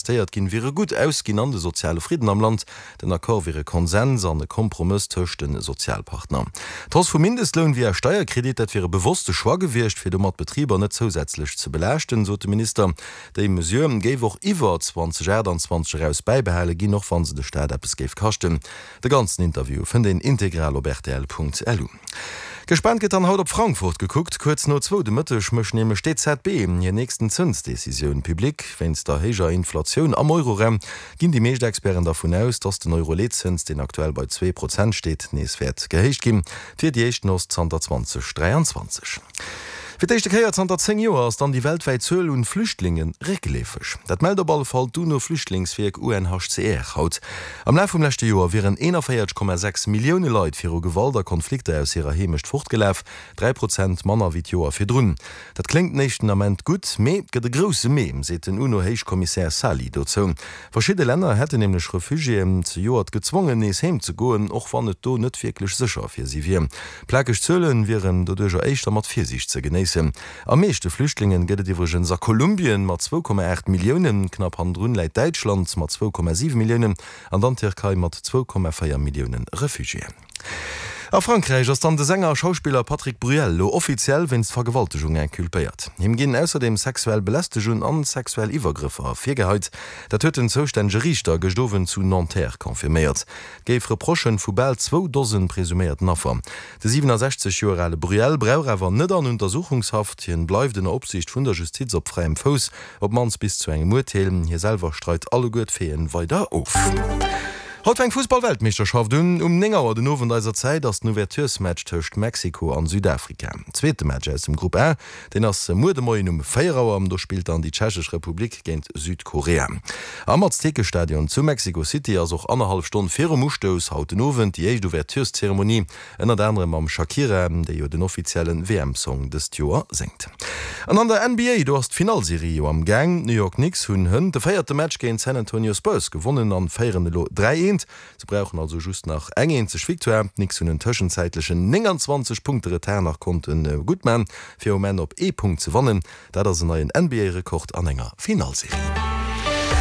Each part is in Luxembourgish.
investéiert ginn, wiere gutt ausginn an de soziale Fridden am Land. Den Accord wier e Konsens an e Kompromëss tëscht de Sozialpartner. D'Hausse vum Mindestloun via Steierkredit, dat wier e bewosste Choix gewiescht, fir domat d'Betriber net zousätzlech ze belaaschten, sot de Minister. Déi Mesure géif och iwwer 2028 eraus bäibehale ginn, och wa se de Staat eppes géif kaschten. De ganzen Interview fënnt een integral op rtl.lu. Gespaant gëtt dann haut op Frankfurt gekuckt. Kuerz no zwou de Mëtteg mécht nämlech d'EZB hir nächsten Zënsdecisioun public. Wéinst der héijer Inflatioun am Euroraum ginn déi meescht Experten dervun aus, datt den Euro-Leetzëns, deen aktuell bei 2 Prozent steet, nees wäert gehéicht ginn. Et wier déi éischten Hausse zanter 2023. Fir d'éischte Kéier zanter 10 Joer ass dann déi weltwäit Zuel un Flüchtlinge réckleefeg. Dat mellt op alle Fall d'UNO-Flüchtlingswierk UNHCR haut. Am Laf vum leschte Joer wieren 41,6 Millioune Leit viru Gewalt a Konflikter aus hirer Heemecht fortgelaf, 3 Prozent manner wéi d'Joer virdrun. Dat kléngt den éischten Ament gutt, mee et gëtt e grousse Mee, seet den UNO-Héichkommissär Sali dozou. Verschidde Länner hätten nämlech Refugiéen zejoert gezwongen, nees heem ze goen, och wann et do net wierklech sécher fir si wier. Plakeg Zuele wieren doduercher éischter mat Virsiicht ze genéissen. Am meeschte Flüchtlingen gëtt et iwwregens a Kolumbien mat 2,8 Milliounen, knapp hannendrun läit Däitschland mat 2,7 Milliounen an dann d'Tierkei mat 2,4 Millioune Refugiéen. A Frankräich ass dann de Sänger a Schauspiller Patrick Bruel lo offiziell wéinst Vergewaltegung inculpéiert. Him ginn ausserdeem sexuell Belästegung an sexuell Iwwergrëffer virgeheit. Dat huet den zoustännege Riichter gëscht Owend zu Nanterre confirméiert. Et géif Reprochen vu bal zwou Dosen presuméierten Affer. De 67 Joer ale Bruel brauch awer net an Untersuchungshaft. Hien bleift ënner Opsiicht vun der Justiz op fräiem Fouss, op d'mannst bis zu engem Urteel. Hie selwer streit alleguer d'Faiten weider of. Haut fänkt d'Fussball-Weltmeeschterschaft un. Um 9 Auer den Owend eiser Zäit ass den Ouverturesmatch tëscht Mexiko an Südafrika. Zweete Match aus dem Grupp A, deen ass muer de Moien um 4 Auer. Do spillt dann déi Tschechesch Republik géint Südkorea. Am Aztekestadion zu Mexico City ass och annerhallef Stonn virum Ustouss haut den Owend déi éischt Ouvertureszeremonie. Ënnert anerem mam Shakira, déi jo den offizielle WM-Song dëst Joer séngt. An an der NBA, do ass d'Finallserie jo am Gaang. D'New York Knicks hunn hënt de véierte Match géint d'San Antonio Spurs gewonnen an féieren elo 3, eent. Se brauchen also just nach eng eenzeg Victoire. D'Knicks hunn en tëschenzäitlechen 29 Punkte Retard nach konnte guttman, fir um Enn op ee Punkt ze wannen. Dat ass en neien NBA-Rekord an enger Finallserie.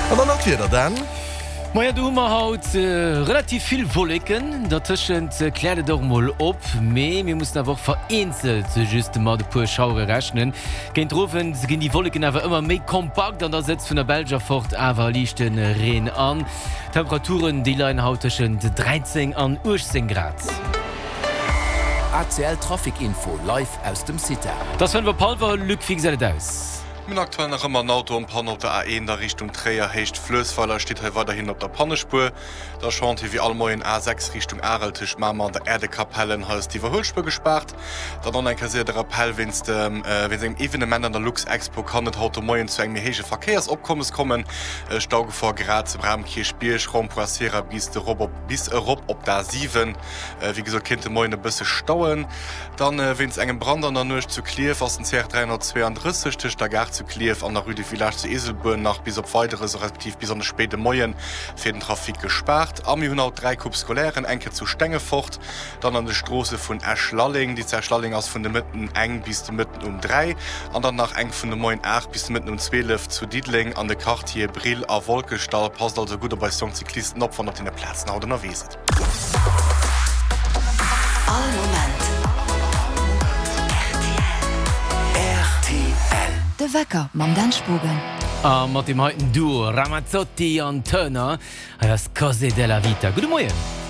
An dann nach d'Wieder, Dan. Maja, do hu mer haut relativ vill Wolleken, dertëschent kläert et och mol op, mee mir mussen awer och vereenzelt just mat e puer Schauere rechnen. Géint den Owend ginn déi Wolleken awer ëmmer méi kompakt an da sëtzt vun der Belsch erfort awer liichte Reen an. D'Temperaturen, déi leien haut tëschent 13 an 18 Grad. ACL Trafic Info live aus dem CITA. Et ass 5 op hallwer, Luc, wéi gesäit et aus? Mir hunn aktuell nach ëmmer en Auto en Panne op der A1 a Richtung Tréier, Héicht Fluessweiler, steet hei weiderhin op der Pannespuer. Da Chantier wéi all Moien A6 Richtung Arel tëscht Mamer an der Äerdekapellen, hei ass d'Iwwerhuelspuer gespaart. Dann och nach eng Kéier séier de Rappell, Wéinst wéinst engem Evenement an der Luxexpo kann et haut de Moien zu engem méi héije Verkéiersopkommes kommen. Staugefor grad zum Raum Kierchbierg, Rond-point Sierra bis erop op d'A7. Wéi gesot, kéint de Moien e bësse stauen. Dann, wéinst engem Brand an der Nuecht zu Klierf ass den CR 332 tëscht der Gare zu Klierf an der Rue du Village zu Eeselbuer nach bis op Weideres, respektiv bis an de spéide Moien, fir den Trafic gespaart. A mir hunn haut 3 Coupes scolairen, eng Kéier zu Stengefort, dann an de Stroosse vun Esch-Lalleng, déi zu Esch-Lalleng ass vun de Mëtten eng bis de Mëtten um 3, an dann nach eng vun de Moien 8 bis de Mëtten um 12 zu Diddeleng an de Quartiere Brill a Wolkeschdall. Passt also gutt op eis jonk Cyclisten op, wann der op deene Plazen haut ënnerwee sidd. All Moment rtl. De Wecker mam Dan Spogen. A mat deem heiten Duo Ramazzotti an Turner, hei ass Cose della Vita. Gudde Moien.